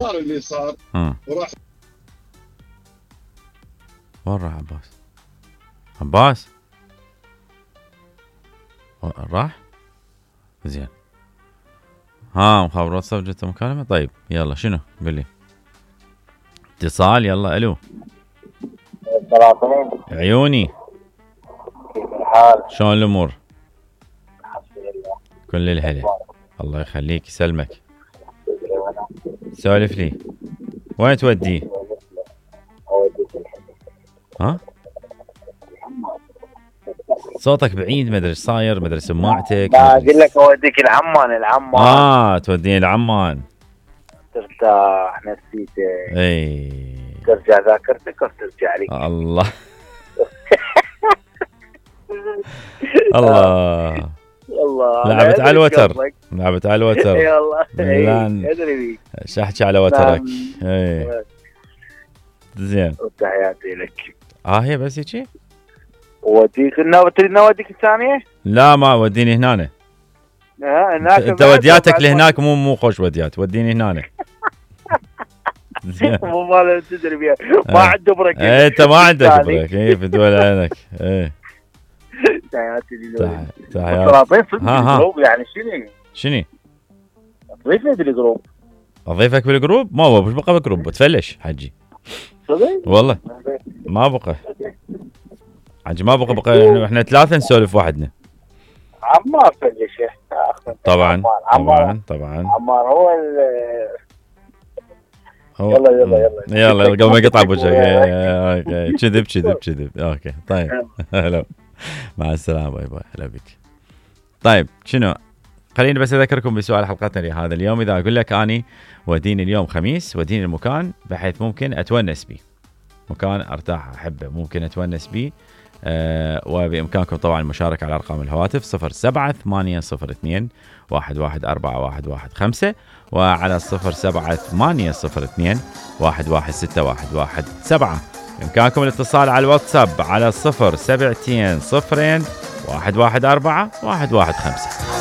صار اللي صار وراح. وين راح عباس؟ عباس راح؟ زين. مخابرات صف جت مكالمة. طيب يلا شنو؟ قل لي. اتصال. يلا الو. عيوني. كيف الحال؟ شلون الامور؟ الحمد لله. كل الهلا. الله يخليك يسلمك. سولف لي. وين توديه؟ ها؟ صوتك بعيد، ما ادري ايش صاير، ما ادري سماعتك. ما اقول لك اوديك العمان. توديني العمان. ترتاح نفسيتك. اي. ترجع ذاكرتك وترجع لك. الله. الله. لعبت على الوتر. لعبت على الوتر. اي والله. ادري بيك. ايش احكي على وترك. اي. زين. تحياتي لك. هي بس هيك. وديك تريد نوديك الثانية؟ لا ما وديني هنا. هناك انت ودياتك لهناك مو خوش وديات، وديني هنا. مو مال تدري بيها، ما عنده بريك. انت ما عندك بريك. في دول عينك. تحياتي لك. يعني شنو؟ اضيفني بالجروب. اضيفك بالجروب؟ ما هو مش بقى بالجروب، تفلش حجي. صدق؟ والله ما بقى حجي، ما بقى احنا ثلاثة نسولف وحدنا. عمار فلش. طبعا. عمار هو يلا قبل ما يقطع بوجهك. كذب. اوكي طيب. هلا مع السلامة. باي باي. هلا بك. طيب شنو، خليني بس اذكركم بسؤال حلقتنا لهذا اليوم. اذا اقول لك اني وديني اليوم خميس، وديني المكان بحيث ممكن اتونس به، مكان ارتاح احبه ممكن اتونس به. وبامكانكم طبعا المشاركه على ارقام الهواتف 07802 114115 وعلى 07802 116117. بامكانكم الاتصال على الواتساب على 072 0114 115.